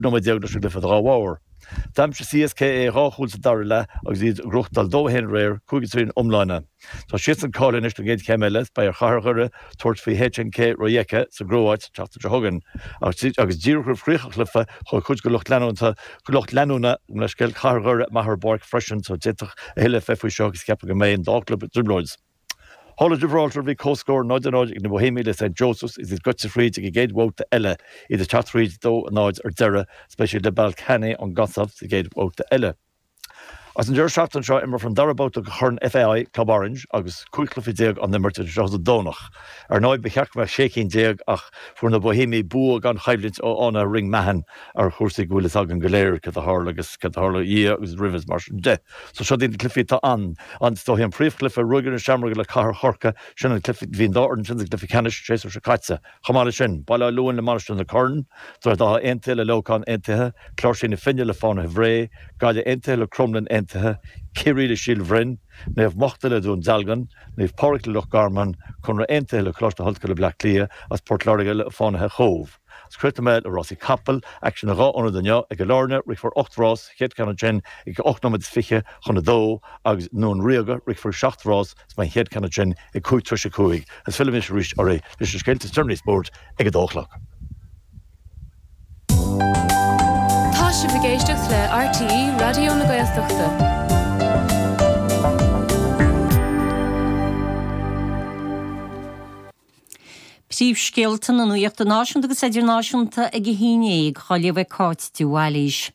nóiméad leis an gcluiche dá bharr. D'aimsigh CSKA 2 chúl sa dara leath agus iad ag gnóthachtáil 2-1 aréir, 5-3 an iomláine. Tá siadsan cáilithe anois don gcéad chéim eile is beidh ar Chathair Dhoire tabhairt faoi HNK Rijeka sa gCróit an tseachtain seo chugainn. Agus díreach roimh chríoch an chluiche chuaigh cuid de lucht leanúnta lucht leanúna gabh mo leithscéal Chathair Dhoire amach ar an bpáirc freisin so d'fhéadfadh a thuilleadh bheith faoi seo agus ceapaim go mbeidh an dá chlub i dtrioblóid. Thall i Gibraltar bhí comhscór 0-0 ag na Boihéamaigh le St Joseph's is iad gaibhte thríd ag an gcéad bhabhta eile, iad ag teacht thríd 2-0 ar deireadh is beidh siad le Ballkani ón gCosaiv sa gcéad bhabhta eile. Agus an deireadh seachtaine seo imreofar an dara babhta de Chorn FAI Club Orange agus 15 cluiche á n-imirt idir seo agus an Domhnach. Ar ndóigh ba cheart go mbeadh 16 cinn ach fuair na Boihéamaigh bua gan choimhlint ó Fhánaithe Ringmahon ar chúrsaí go bhfuil fhios againn go léir céard a tharla agus céard a tharla dhiaidh agus roimhe is mar sin de. So seo iad na cluichí atá ann. An, is dóichí an príomhchluiche, Ruagairí na Seamróige le Cathair Chorcaí, sin an cluiche, bhí an dá fhoireann sin sa gcluiche ceannais an séasúr seo caite. Chomh maith leis sin, Baile Átha Luain le Mainistir na Corann, Droichead Átha Aontaithe le Leamhcán Aontaithe, Cláirsigh na Finne le Fánaithe Bhré, Gaillimh Aontaithe le Cromghlinn Aontaithe, Ciarraí le Síol Bhroin, Naomh Mochta le Dún Dealgan, Naomh Pádraig le Loch Garman, Conradh Aontaithe le Coláiste na hOllscoile Bleá Cliath agus Port Láirge le Fánaithe Chóbh. Agus críochnóidh mé le rásaí capall, aicsean i 2 ionad inniu, ag Cill Airne, rithfear 8 rás, chéad cheann ansin ag 8 nóiméad is fiche chun a dó, agus i nDún Ríoga, rithfear 7 rás, is beidh an chéad cheann ansin ag 5 tar éis a 5. Agus fillfidh mise arís oraibh leis na scéalta is deireanaí spóirt ag a dó a chlog. Tá sibh ag éisteacht le RTÉ Raidió na Gaeltachta. Príomhscéalta na nuachta náisiúnta agus idirnáisiúnta ag a 11, á léamh ag Cáit de Bhailís.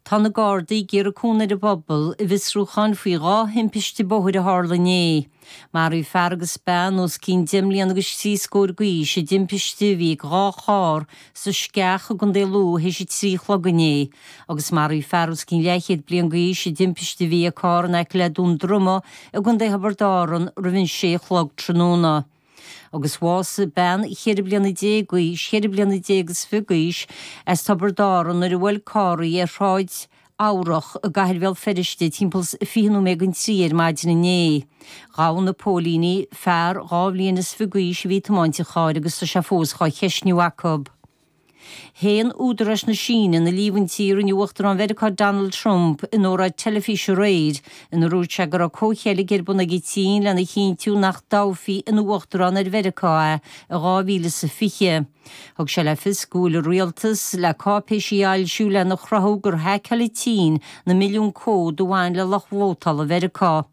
Tá na Gardaí ag iarraidh cúnamh ar an bpobal i bhfiosrúchán faoi dhá thimpiste bóthair a tharla inné. Maraíodh fear agus bean os cionn 10 mbliana agus trí scór d'aois i dtimpiste a bhí ag dhá charr sa Sceach i gContae Lú théis a 3 a chlog inné agus maraíodh fear os cionn leathchéad bliain d'aois i dtimpiste a bhí ag carr in aice le Dún Droma i gContae Thiobraid Árann roimh an sé a chlog tráthnóna. Agus bhásaigh bean cheithre bliana déag d'aois, cheithre bliana déag is fiche d'aois, as Tiobraid Árann nuair a bhuail carr í ar Shráid Eabhrach i gcathair Bhéal Feirste timpeall 20 nóiméad don trí ar maidin inné. Ghabh na póilíní fear 2 bhliain is fiche d'aois a bhí ag tiomáint an chairr agus tá sé fós dhá cheistniú acu. Shéan údaráis na Síne na líomhaintí a rinne Uachtarán Mheiriceá Donald Trump in óráid teilifíse aréir ina ndúirt sé go raibh comhcheilg ar bun ag an tSín lena chinntiú nach dtoghfaí ina Uachtarán ar Mheiriceá é i 2020. Thug sé le fios go bhfuil a rialtas le cáipéisí a fhoilsiú lena chruthú gur haiceáil an tSín na milliúin comhad a bhain le lucht vótála Mheiriceá.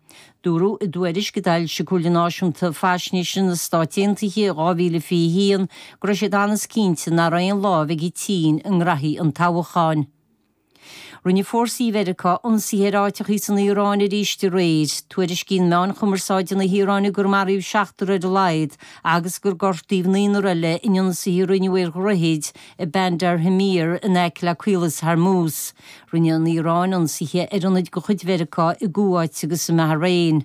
Dúradh i dtuairisc a d'fhoilsigh Comhairle Náisiúnta Faisnéise na Stát Aontaithe i 2021 go raibh siad an-cinnte nach raibh aon lámh ag an tSín i ngraithí an toghcháin. Rinne fórsaí Mheiriceá ionsaithe ar áiteachaí san Iaráin arís aréir. Tuairiscíonn meáin chumarsáide na hIaráine gur maraíodh seachtar ar a laghad agus gur gortaíodh naonúr eile in ionsaithe a rinneadh ar dhroichid i Bandar Tamir in aice le Caolas Hormuz. Rinne an Iaráin ionsaithe ar ionaid de chuid Mheiriceá i gCuáit agus i mBahrain.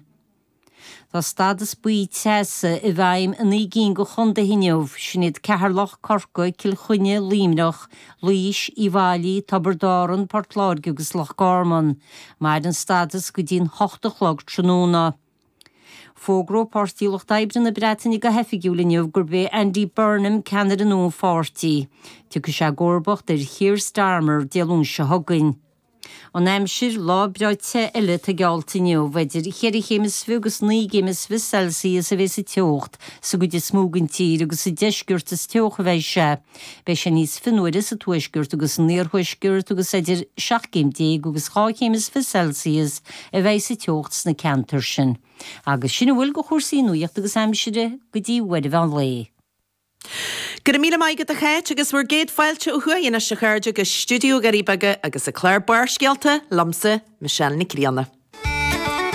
Tá stádas buí teasa i bhfeidhm i 9 gcinn de chontaetha inniu, sin iad Ceatharlach, Corcaigh, Cill Chainnigh, Luimneach, Laois, Uíbh Fhailí, Tiobraid Árann, Port Láirge agus Loch Garman. Mairfidh an stádas go dtí'n hocht a chlog tráthnóna. Fógróidh Páirtí Lucht Oibre na Breataine go hoifigiúil inniu gurb é Andy Burnham ceannaire nua an pháirtí. Tiocfaidh sé i gcomharbacht ar Keir Starmer Dé Luain seo chugainn. An aimsir, lá breá te eile atá geallta inniu. Idir cheithre chéim is fiche agus 9 gcéim is fiche Celsius a bheas an teocht sa gcuid is mó den tír agus sa deisceart is teocha a bheidh sé. Beidh sé níos fionnuaire sa tuaisceart agus san iarthuaisceart agus idir 17 céim agus 2 chéim is fiche Celsius a bheidh sa teocht sna ceantair sin. Agus sin a bhfuil de chúrsaí nuachta agus aimsire go dtí uair an mheán lae. Go raibh míle maith agat a Cháit agus bhur gcéad fáilte ó thuaidh anois a chairde go stiúideo Dhoirí Beaga agus an clár Barrscéalta liomsa, Michelle Nic Grianna.